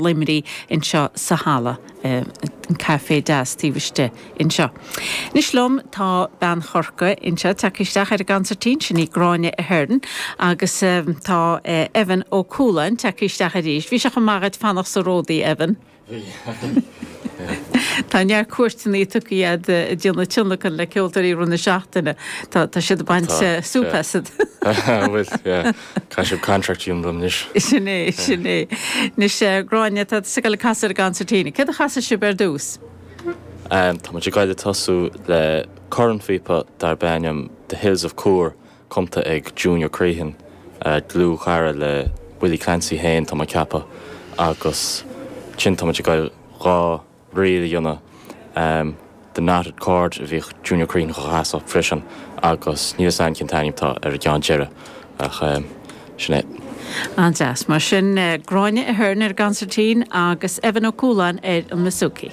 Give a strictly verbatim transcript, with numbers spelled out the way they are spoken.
Luimnigh anseo sa halla an café deas taobh istigh anseo. Anois liom tá bean Chorcaí anseo tagtha isteach ar an gconsairtín sin í Gráinne Ahern agus tá Evan Ó Cualáin tagtha isteach arís. Bhí sé chomh maith fanacht sa ródaí Evan. Tá neart cuairteanna tugtha iad déanamh tionlacan le ceoltóirí rith na seachtaine Tá tá siad baint súp asat. Bhfuil Caithfidh sibh contract dhéanamh dom anois. Sin é sin é. Anois Gráinne tá sa go cas ar an gconsairtín. Céard a chasfaidh sibh ar dtús? Tá muid ag goil ag tosú le cornphíopa darb ainm The Hills of Coor cumtha ag Junior Crehan dlúthchara le Willie Clancy féin tá mé ag ceapadh agus ansin tá muid ag goil dhá ríl a dhéanamh um, The Knotted Cord a bhíodh Junior Crehan a chasadh freisin agus níl san cén t-ainm atá ar an gceann deireadh ach um, sin é. An-deas mar sin Gráinne Ahern ar an gconsairtín agus Evan Ó Cualáin ar an mbouzouki.